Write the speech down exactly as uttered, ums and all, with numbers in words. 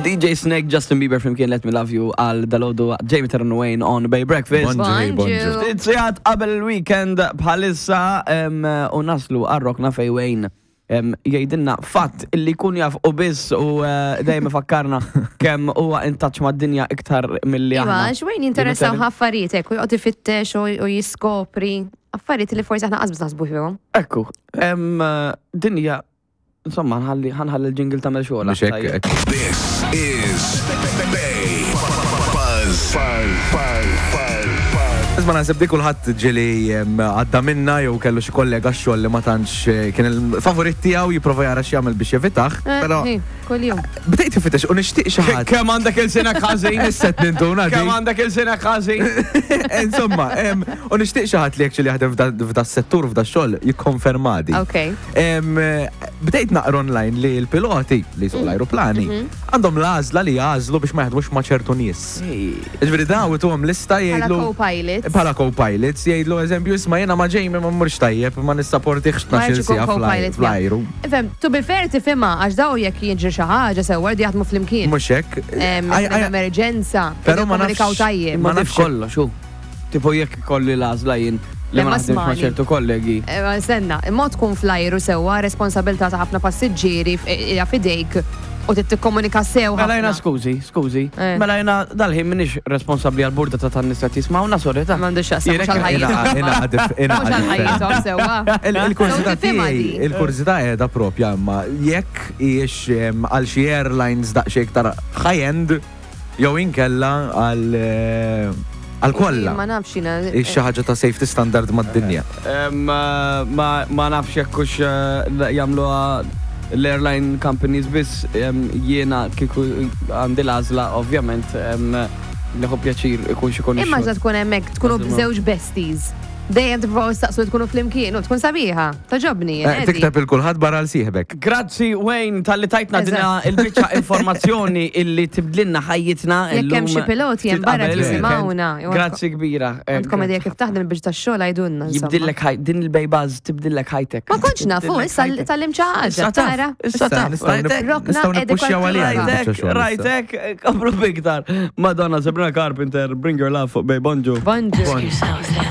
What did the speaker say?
D J Snake, Justin Bieber flimkien, "Let Me Love You" għal dalgħodu, Jamie Terran Wayne on Bay Breakfast. Bonġu, bonġu. Ftit sigħat qabel il-weekend bħalissa em, u naslu għar-rokna fejn Wayne em, jgħidilna fatt illi kun jaf u biss u eh, dejjem ifakkarna kemm huwa in touch mad-dinja iktar milli Iva, aħna. għax Wayne jinteressaw affarijiet hekk u joqgħod ifittex u u jiskopri affarijiet li forsi aħna qasbis naħsbu fihom. Ekku, em, dinja, insomma, ħanħalli ħanħalli l-jingle tagħmel xogħol. Mhux hekk, hekk. This is Bay Buzz. Buzz. Buzz. Buzz. Buzz. Isma', naħseb di kulħadd ġieli em, għadda minna jew kellu xi kollega x-xogħol li ma tantx eh, kien il-favorit tiegħu, jipprova jara x'jagħmel biex jevitah, Eh, però hi, kuljum. bdejt ifittex u nixtieq xi ħadd. Kemm għandek ilsienek ħażin? Nisset ninduna di. Kemm għandek ilsienek ħażin? Insomma, em, u nixtieq xi ħadd li actually jaħdem f'da- f'da settur, f'da xogħol, jikkonferma di. Ok. Em, Bdejt naqra online li l-piloti li jsuqu l-ajruplani għandhom l-għażla li jagħżlu biex ma jaħdmux ma' ċertu nies. Ġifieri daw ituhom lista, Bħala jgħidlu co-pilots. Bħala co-pilots jgħidlu, eżempju, "Isma', jiena ma' Jamie ma mmurx tajjeb, ma nissaportihx Ma tnax-il jridx ikun siegħa co-pilot. fl-ajru." Ifhem, to be fair tifhimha, għax daw jekk jiġri xi ħaġa sewwa jridu jaħdmu flimkien. Mhux hekk. Em, Aj- aj- emerġenza. Però ma nafx- Komunikaw tajjeb. Ma Ma nafx nafx- kollox, hu. Tipo jekk kolli l-għażla jien li Le, ma ma naħdimx ma' smani. ċertu kollegi. Eh, Senna, imma tkun fl-ajru sewwa, responsabilità ta' ħafna passiġġieri f- hija fidejk u trid tikkomunika sew Mela jiena ħafna. skużi, skużi. Eh. Mela jiena dal-ħin minix responsabbli għal burda ta' tan-nies qed jismawna, sorry ta'. M'għandux x'jaqsam, mhux Jirek- għal-ħajjithom. Ina- ina- Mhux għal-ħajjithom sewwa. Il- Il-kurżità So tifhimha tiegħi, di. il-kurżità qiegħda propja, imma jekk hijiex em, għal xi airlines daqsxejn iktar high-end jew inkella għal eh, għal kollha. Ma nafx jiena. Hix xi ħaġa ta' safety standard mad-dinja. Em, eh, Ma ma nafx jekk hux eh, jagħmluha l-airline companies biss, em, jiena kieku għandi l-għażla, ovvjament, em, nieħu pjaċir ikun xi Imma ġa tkun hemmhekk tkunu Eżatt. żewġ besties. Dejjem tippruvaw staqsu tkunu flimkien u tkun sabiħa. Togħġobni. Eh, Tikteb il kulħadd barra l sieħbek. Grazzi Wayne talli tajtna Eżatt. dina il-biċċa informazzjoni illi tibdlilna ħajjitna Jekk hemm illum xi piloti hemm ftit barra qabel il-weekend. jisimgħuna. Grazzi kbira. Eh, Għandkom idea kif taħdem biex tax-xogħol, għidulna, insomma. Jibdillek ħaj, din il-Bay Buzz tibdillek ħajtek. Ma kontx nafu, Tibdillek issa ħajtek. tgħallimt xi ħaġa, Issa taf, tara. issa taf. Nistgħu nip- Rajtek, Rokna nistgħu nippuxxjaw għaliha edukattiva. il-biċċa Rajtek, xogħol issa. rajtek, komplu biktar. Madonna, Sabrina Carpenter, "Bring Your Love" fuq Bay. Bonġu. Bonġu. Ask yourselves that.